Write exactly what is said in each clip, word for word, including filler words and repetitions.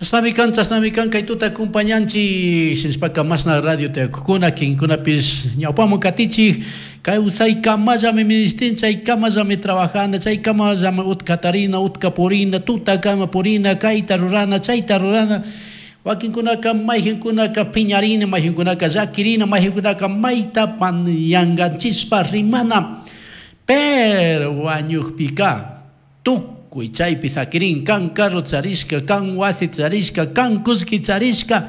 Chashnami kan, chashnami kan, kay tuta acompañanchik, shinashpaka mashna radio tiyakukuna, kinkunapish ñawpaman katichik, kawsaykamallami ministin, chaykamallami trabajana, chaykamallami utka tarina, utka purina, tutakama purina, kayta rurana, chayta rurana. Wakinkunaka mayqinkunaka piñarina, mayqinkunaka llakirina, mayqinkunaka mayta yankanchispa rimana. Pero wañukpika tukuy chaypi sakirin, kan carro charishka, kan wasi charishka, kan kullki charishka.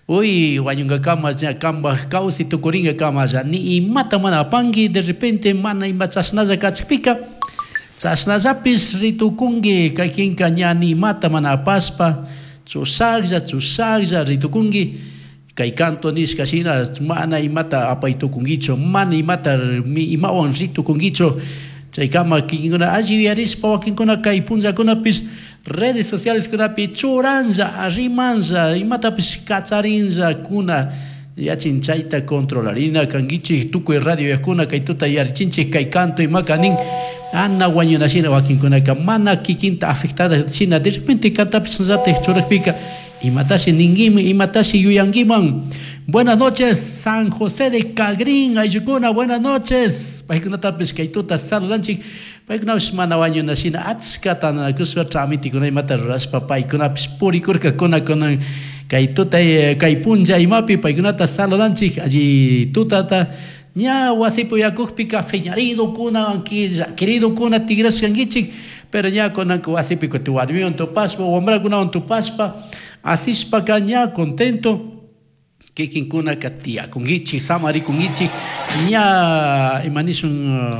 Uy, wañunkakama ña kanpaj kawsay tukurinkakamalla ni imata mana apanki, de repente mana ima chashnalla kachikpika chashnallapish ritukunki, kaykinka ña ni imata mana apashpa chushaklla chushaklla ritukunki. Kay canto nishka shina mana imata apay tukunkichu, mana imata imawan ritukunkichu. Chaykama kikinkuna alli yuyarishpa wakinkuna kay punllakunapish redes sociales kunapi churanlla, rimanlla, imatapish kacharinlla kuna yachin chayta controlarina kankichik tukuy radio yakuna kay tuta yarichinchik kay canto imaka nin ana wañuna shina wakinkunaka mana kikinta afectada shina de repente kantapish llatik churakpika imatashi ninkiman, imatashi yuyankiman. Buenas noches, San José de Cagrín, ayllukuna, buenas noches. Paykunatapish kay tuta saludanchik. Paykunapish mana wañuna shina achka tantanakushpa tramitikuna imata rurashpa paykunapish purikurkakuna kunan kay tuta kay punlla imapi paykunata saludanchik. Alli tutata ña wasipi uyakukpika fiñaridokuna, llakiridokuna tigrashkankichik, pero ña kunanka wasipi kutin warmiwan tupashpa, wambrakunawan tupashpa asishpaka ña contento kikinkunaka tiyakunkichik, samarikunkichik, ña imanishun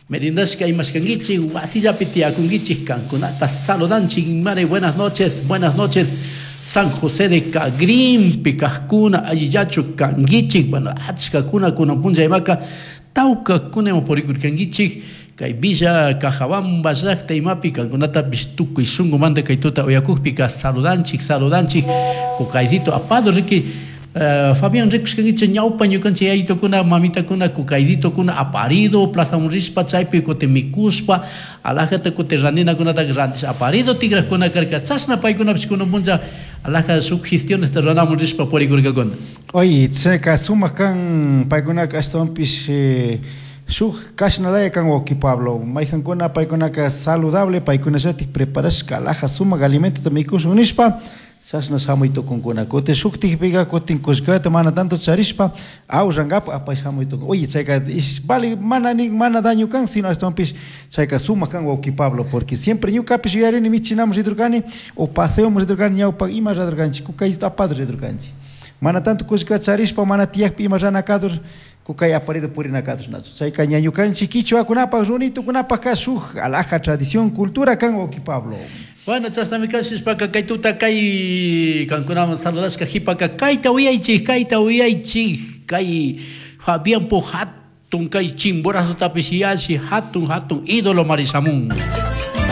merindashka imashkankichik, wasillapi tiyakunkichik, kankunata saludanchik. Mare, buenas noches, buenas noches. San José de Cagrimpi kajkuna allillachu kankichik, bueno, achkakuna kunan punlla imaka tawkakuna ima purikurkankichik kay Villa Cajabamba llaqta imapi kankunatapish tukuy shunkumanta kay tuta uyakukpika saludanchik, saludanchik. Kukaysito apado riki. Uh, Fabián rikushkankichik ñawpa ñukanchik yayitukuna mamitakuna kukaysitokuna aparido plazaman rishpa chaypi kutin mikushpa alajata kutin randinakunata randish aparido tigrajkuna karka chashna paykunapish kunan punlla alaja shuk gestionesta ruramun rishpa purikurkakuna. Oye, chayka sumak kan paykunaka ashtawanpish eh, shuk kashnalaya kan wawqi Pablo, mayqankuna paykunaka saludable paykunallatik preparashka alaja sumak alimentota mikushun nishpa chashna shamuy tukunkuna. Kutin shuktikpika kutin kullkata mana tanto charishpa awllankapa apay shamuy tukun. Oye, chayka ish vale mana ni mana daño kan, sino ashtawanpish chayka sumak kan wawqi Pablo, porque siempre ñukapish yuyarini michinamun ridurkani o paseomun ridurkani ñawpak ima ridurkanchik kukaysito apado ridurkanchik. Mana tanto kullkata charishpa mana tiyakpi ima rana kadur kukay aparido purina kadur nachu. Chayka ñañukanchik kichwakunapak runitukunapakka shuk alaja tradición cultura kan wawqi Pablo. Bueno, chashnami kashishpaka kay tuta kay kankunaman saludashka hipaka kayta uyaychik, kayta uyaychik, kay Fabián po hatun kay Chimborazotapish yashi hatun hatun ídolo Marisamun.